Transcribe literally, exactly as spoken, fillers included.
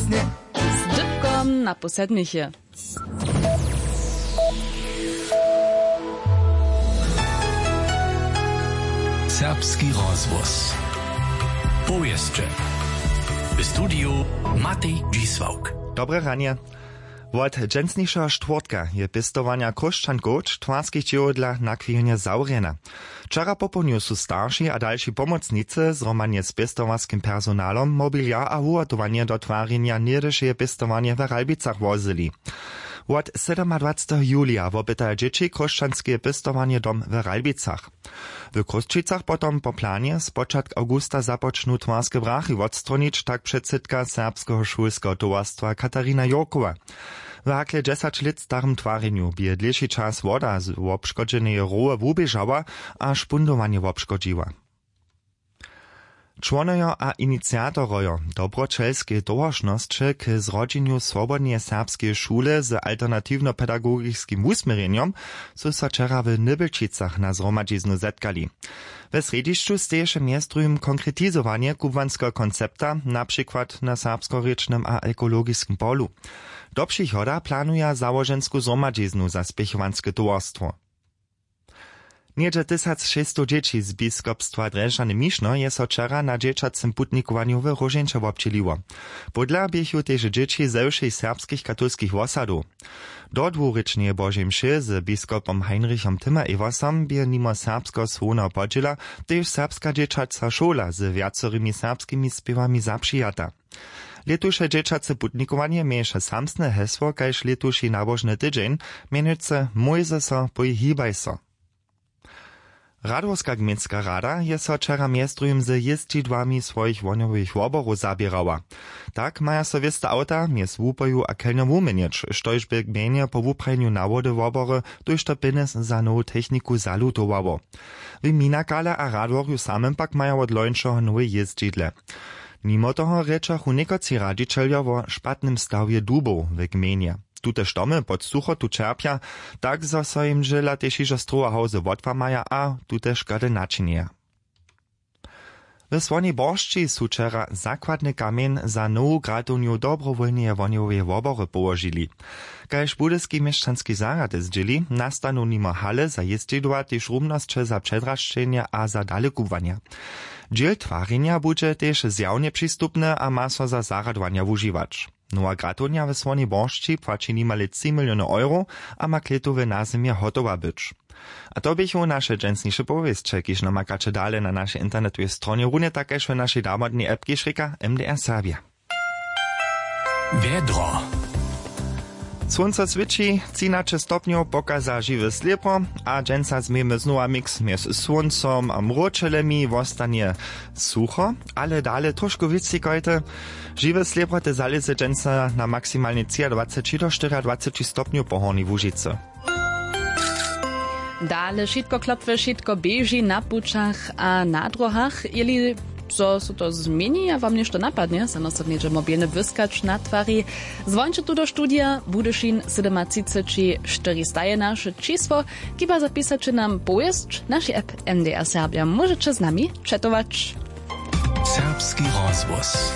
Z dypkom na pół sedmich je. Serbski rozhłos. Powěsće. W studiju Matej Dźisławk. Dobre ranje. Wot dźensnišeho štwórtka je pěstowanja chróšćankow w twarskich dźěłodlach na chwilnje zawrjena. Wčera popołdnju su starši a dalši pomocnicy zhromadnje z pěstowarskim personalom mobiliar a wuhotowanje do twarjenja něhdyšeje pěstowanje w Ralbicach wozyli. Wot sydomadwaceteho julija wopytaja dźěći chróšćanskeje pěstowanje dom w Ralbicach. W Chrósćicach potom po planje spočatk awgusta započnu twarske brachy wotstronić, tak předsydka serbskeho šulskeho towarstwa Katarina Jurkowa. W hakle dźesać lět starym twarjenju bě je dlěši čas woda z wobškodźeneje roły wuběžała a špundowanje wobškodźiła. Čłonojo a iniciatorojo dobroćelskeje towaršnosće k zrodźenju swobodneje serbskeje šule z alternatiwnopedagogiskim wusměrjenjom su so wčera w Nybelčicach na zhromadźiznu zetkali. We srjedźišću steješe mjez druhim konkretizowanje kubłanskeho koncepta, na přikład na serbskorěčnym a ekologiskim polu. Do přichoda planuja załožensku zhromadźiznu za spěchowanske towarstwo. Něhdźe tysac šěsćstow dźěći z biskopstwa Drježdźany Mišno je so wčera na dźěćacym putnikowanju w Róžeńće wobdźěliło. Pódla běchu tež dźěći ze wšěch serbskich katolskich wosadow. Do dwurěčneje Božej mše z biskopom Heinrichom Timmer-Eversom bě nimo serbskeho słowneho podźěla tež serbska dźěćaca šola z wjacorymi serbskimi spěwami zapřijata. Lětuše dźěćace putnikowanje měješe samsne hesło kaž lětuši nabožny tydźeń, mjenujcy Mójzeso, pój hibaj so. Radworska gmejnska rada je so wčera mjez druhim z jězdźidłami swojich wohnjowych woborow zaběrała. Tak maja so wěste awta mjez Łupoju a Chelnjo wuměnjeć, štož bě gmejnje po wuprajenju nawody wobory tójšto pjenjez za nowu techniku zalutowało. W Minakale a Radworju samym pak maja wot lońšeho nowe jězdźidle. Nimo toho rěčachu někotři radźićeljo wo špatnym stawje dubow w gmejnje. Tute štomy pod suchotu ćerpja, tak zo so jim dźěla tež hižo strowa hałzy wotłamaja a tute škody načinjeja. W Słonej Boršći su wčera zakładny kamjeń za nowu gratownju dobrowólneje wohnjoweje wobory połožili. Kaž budyski měšćanski zarjad zdźěli, nastanu nimo hale za jězdźidła tež rumnosće za předrašćenje a za dalekubłanja. Dźěl twarjenja budźe tež zjawnje přistupny a ma so za zarjadowanja wužiwać. Nowa gratownja w Słonej Boršći płaći nimale tři miliony euro a ma klětowe nazymje hotowa być. A to běchu naše dźensniše powěsće, kiž namakaće dale na našej internetowej stronje, runje tak kaž w našej damodnej app, kiž rěka M D R Serbia. Wjedro. Słónco swěći, třinaće stopnjow pokaza žiwe slěpro, a dźensa změjemy znowa miks mjez słóncom a mróčelemi. Wostanje sucho, ale dale trošku wěc ćěkajte. Žiwe slěpro te zalěze dźensa na maksimalnje třiadwaceći do štyriadwaceći stopnjow po Hornjej Łužicy. Dale wšitko klopwy, wšitko běži na pućach a na dróhach. Jeli zo so to změni a wam něšto napadnje, snano so něhdźe mobilnje błyskać na twari, zwonće tu do studija. Budyšin sydomatřiceći štyri staje naše čisło, kiba zapisaće nam powěsć w našej app. M D R Serbja, móžeće z nami četować. Serbski rozhłos.